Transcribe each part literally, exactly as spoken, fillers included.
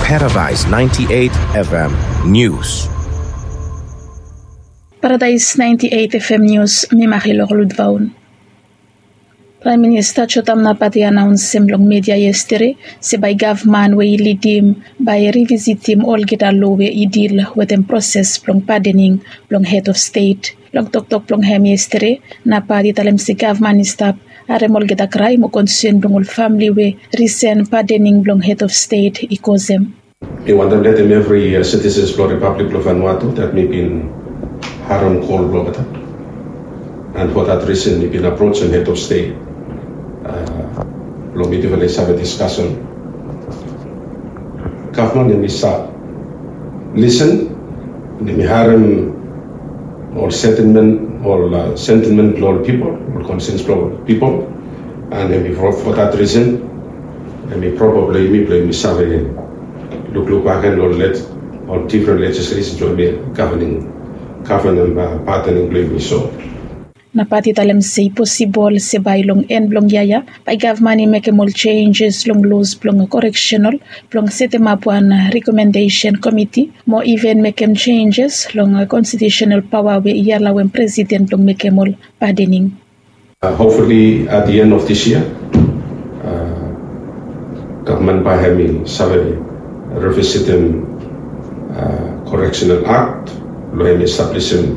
Paradise ninety-eight F M News. Paradise ninety-eight F M News, mi Marilor Ludvaun. Praem Minista Jotam Napat i anaonsem long media yestede se bae gavman we i lidim bae i rivisitim olgeta lo we i dil wetem proses blong padening blong hed of stet. Long toktok blong hem yestede, Napat i talem se gavman i stap harem olgeta krae mo konsen blong ol famle we risen padening blong hed of stet i kosem. Mi wantem letem evri sitisens blong Ripablik blong Vanuatu dat mi bin harem kol blong olgeta. And for that reason mi bin aprojem hed of stet blong mitufala i save diskasen. Gavman hem i stap lisen, hem i harem ol sentimen, ol sentimen blong ol pipol, ol konsens blong ol pipol. And hem i for that reason hem i propa blong yumi blong yumi save lukluk bagen long ol difren lejislesen blong yumi gavanem, gavanem padening blong yumi. So Napat i talem se i posibol se bae long en blong yia ya bae gavman i mekem ol jenjes long los blong koreksenal blong setemap wan rekomendesen komiti mo iven mekem jenjes long konstitiusenal paoa we i alawem presiden blong mekem ol padening. Hopefully at the end of this year, gavman bae hem i save revisitim koreksenal akt blong hem i establisim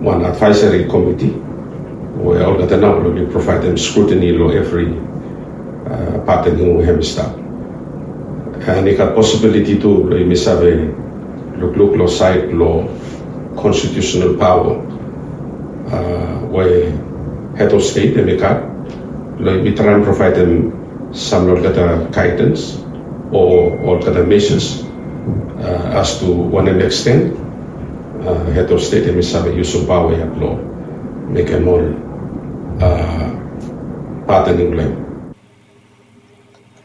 wan advaeseri komiti we olgeta nao blong i provaedem skrutini long evri padening we hem i stap. And i gat posibiliti tu blong yumi save lukluk long saed blong konstitiusenal paoa we hed of stet hem i gat blong yumi traem provaedem sam long olgeta gaedans o olgeta mesas as tu wanem eksten hed of stet hem i save yusum paoa ya blong mekem ol padening blong hem.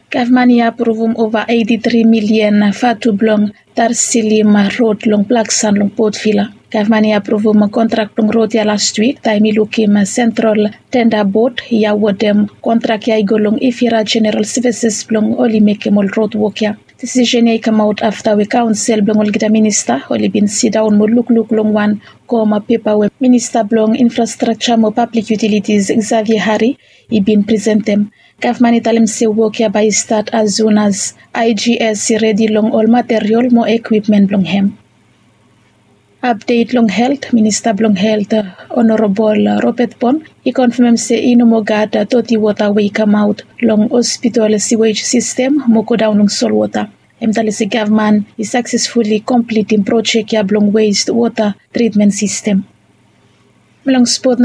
Gavman i apruvum ova eiti tri milian vatu blong tarsilim rod long Blaksan long Port Vila. Gavman i apruvum kontrak blong rod ya lastwik taem i lukim Sentral Tenda Bod i awodem kontrak ya i go long Ifira Jeneral Sevises blong oli mekem ol rod wok ya. Disisen ya i kamaot afta we kaonsel blong olgeta minista oli bin sidaon mo lukluk long wan koma pepa we minista blong infrastrakja mo pablik yutilitis Xavier Hari i bin presentem. Gavman i talem se wok ya bae i stat as sun as I G S i redi long ol materiol mo ekwipmen blong hem. Apdet long helt, minista blong helt Honorabol Robert Bon i konfamem se i no moa gat doti wota we i kamaot long hospital siwej sistem mo godaon long solwota. Hem talem se gavman i saksesfuli komplitim projek ya blong west wota tritmen sistem. Long spot